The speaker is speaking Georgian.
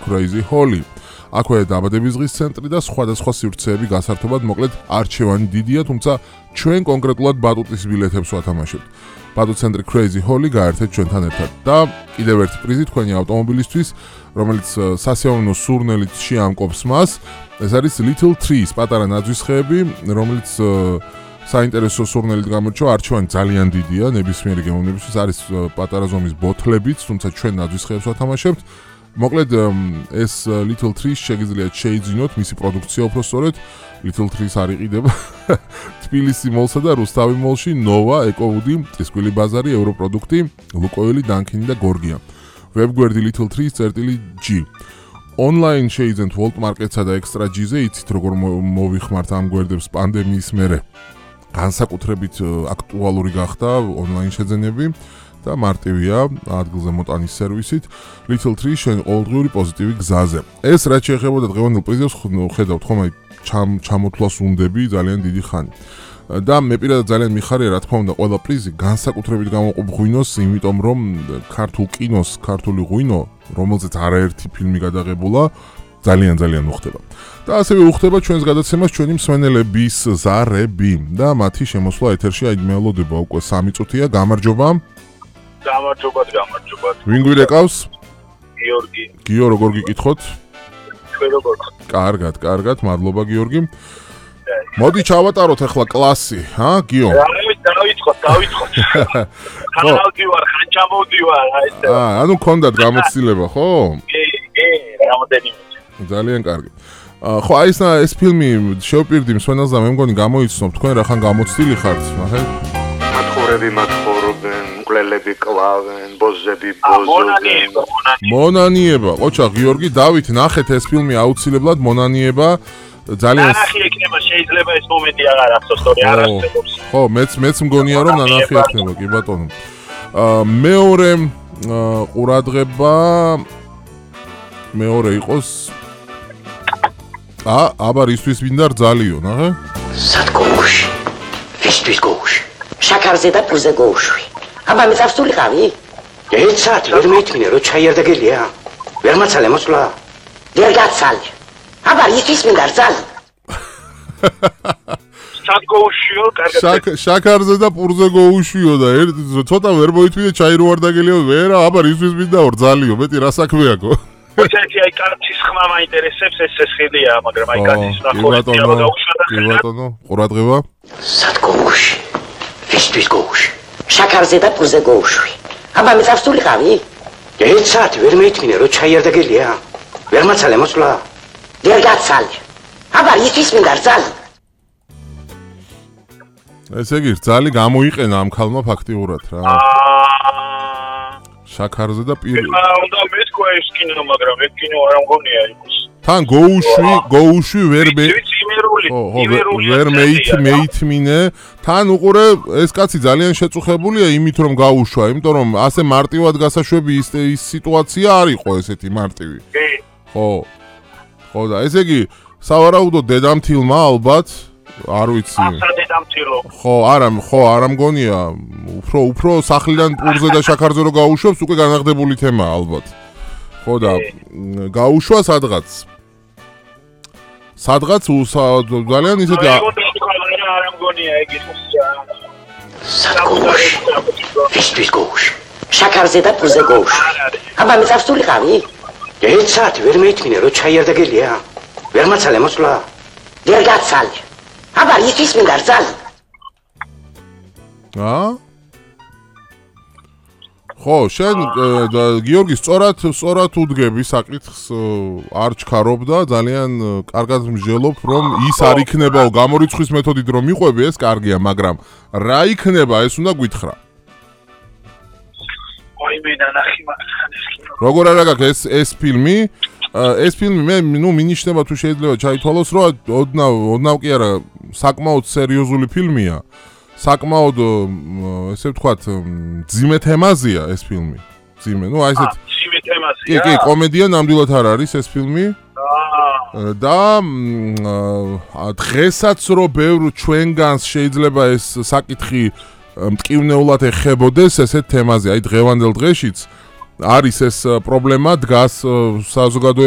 Crazy Holly. აქვე დაბადების დღის ცენტრი და სხვადასხვა სივრცეები გასართობად, მოკლედ არჩევანი დიდია, თუმცა ჩვენ კონკრეტულად ბატუტის ბილეთებს ვათამაშებთ. ბატუტ ცენტრი Crazy Holly გაერთეთ ჩვენთან ერთად და კიდევ ერთი პრიზი თქვენი ავტომობილისთვის, რომელიც სასიამოვნო სურნელით შეამკობს მას. ეს არის Little Trees, პატარა ნაძვის ხეები, რომელიც საინტერესო სურნელით გამორჩა, არჩევანი ძალიან დიდია, ნებისმიერი გემოვნებისთვის არის პატარა ზომის ბოთლებიც, თუმცა ჩვენ ნაძვის ხეებს ვათამაშებთ. მოკლედ ეს Little Trees შეგიძლიათ შეიძინოთ, მისი პროდუქცია უფრო სწორედ Little Trees არ იყიდება თბილისი მოლსა და რუსთავი მოლში, Nova, EcoWood, წისქვილი ბაზარი, ევროპროდუქტი, ლუკოილი, დანქინი და გორგია. ვებგვერდი Little Trees.g. Online შეიძენთ Volt Market-სა და Extra G-ზე, იცით როგორ მოვიხმართ ამ გვერდებს პანდემიის მერე. განსაკუთრებით აქტუალური გახდა online შეძენები. და მარტივია ადგილზე მოტანის სერვისით Little Trees შენ ყოველდღიური პოზიტივი გზაზე. ეს რაც შეეხებოდა დღევანდელ პრიზებს ხედავთ ხომ აი ჩამოთვლას უნდები ძალიან დიდი ხანი. და მე პირადად ძალიან მიხარია რა თქმა უნდა ყველა პრიზი განსაკუთრებით გამოყოფ ღვინოს, იმიტომ რომ ქართულ კინოს, ქართული ღვინო, რომელზეც არაერთი ფილმი გადაღებულა, ძალიან უხდება. და ასევე უხდება ჩვენს გადაცემას ჩვენი მსმენელების ზარები და მათი შემოსვლა ეთერში აი მელოდება უკვე 3 წუთია, გამარჯობა. გამარჯობათ. ვინ გვირეკავს? გიორგი. გიო, როგორ გიკითხოთ? თქვენ როგორ? კარგად, მადლობა გიორგი. მოდი ჩავატაროთ ახლა კლასი, გიო? დავიწყოთ. ხან ჩამოვდივარ, აი ეს. ანუ გქონდათ გამოცდილება, ხო? კი, რამოდენიმე. ძალიან კარგი. ხო, აი ეს ფილმი შევპირდი მსმენელს და მე მგონი გამოიცნობ, თქვენ რახან გამოცდილი ხართ, ნახეთ? მათხოვრები მათხოვრობენ, მკვლელები კლავენ, ბოზები ბოზობენ. მონანიება, ყოჩა გიორგი, დავით, ნახეთ ეს ფილმი აუცილებლად მონანიება. ძალიან ნანახი ექნება, შეიძლება ეს მომენტი აღარ ახსოვს, თორე არ არსებობს. ხო, მეც მგონია რომ ნანახი ექნება, კი ბატონო. მეორე ყურადღება მეორე იყოს აბარ ისთვის მინდა რძალიო, ნახე? სადგოუში. ვისთვის გოუში. შაქარზე და პურზე გოუშვი. აბა მე წავსულიყავი? ეცათ ვერ მეითმინე რომ ჩაი არ დაგელია. ვერ მაცალე მოსვლა. ვერ გაცალე. აბა ისთვის მინდა რძალი. სადგოუშიო, კარგად. შაქარზე და პურზე გოუშვიო და ცოტა ვერ მოითმინე ჩაი რო არ დაგელიო. ვერა, აბა ისთვის მინდა რძალიო, მეტი რა საქმე აქვს? ოჩეთი აი კაცის ხმა მაინტერესებს ეს ხილია, მაგრამ აი კაცის ნახორი დაუშვა და კი ბატონო, ყურადღება. სადგოუში. ვისთვის გოუში. შაქარზე და პურზე გოუშვი. აბა მე წავსულიყავი? ეცათ ვერ მეითმინე რომ ჩაი არ დაგელია. ვერ მაცალე მოსვლა. ვერ გაცალე. აბა ისთვის მინდა რძალი. ესე იგი რძალი გამოიყენა ამ ქალმა ფაქტიურად რა. შაქარზე და პირი. უნდა მეთქვა ეს კინო, მაგრამ ეს კინო არ მგონია იყოს. თან გოუშვი ვერ მეითმინე. თან უყურე ეს კაცი ძალიან შეწუხებულია იმით რომ გაუშვა, იმიტომ რომ ასე მარტივად გასაშვები ის სიტუაცია არ იყო ესეთი მარტივი. კი. ხო და ესე იგი სავარაუდო დედამთილმა ალბათ არ ვიცი. დედამთილო. ხო, არა მგონია. უფრო სახლიდან პურზე და შაქარზე რო გაუშვებს, უკვე განაღდებული თემაა ალბათ. ხო და გაუშვა სადღაც ძალიან ისეთი არ მგონია ეგ იყოს. სადგოუში. ვისთვის გოუში. შაქარზე და პურზე გოუშვი. აბა მე წავსულიყავი? ეცათ ვერ მეითმინე რომ ჩაი არ დაგელია. ვერ მაცალე მოსვლა. ვერ გაცალე. აბა ისთვის მინდა რძალი. ხო, შენ გიორგი სწორად უდგები საკითხს, არ ჩქარობ და ძალიან კარგად მსჯელობ, რომ ის არ იქნებაო გამორიცხვის მეთოდით რომ მიყვები, ეს კარგია, მაგრამ რა იქნება, ეს უნდა გითხრა. ой მე ნახი მაგან ეს კინო. როგორ არა გაქვს ეს ფილმი? ეს ფილმი მე მინიშნება თუ შეიძლება ჩაითვალოს, რომ ოდნავ კი არა, საკმაოდ სერიოზული ფილმია. საკმაოდ ესე ვთქვათ, ძიმე თემაზეა ეს ფილმი. ძიმე, აი ესეთ ძიმე თემაზეა. კი, კომედია ნამდვილად არ არის ეს ფილმი. და დღესაც რო ბევრ ჩვენგანს შეიძლება ეს საკითხი მტკივნეულად ეხებოდეს ესეთ თემაზე, აი დღევანდელ დღეშიც არის ეს პრობლემა დგას საზოგადოებაში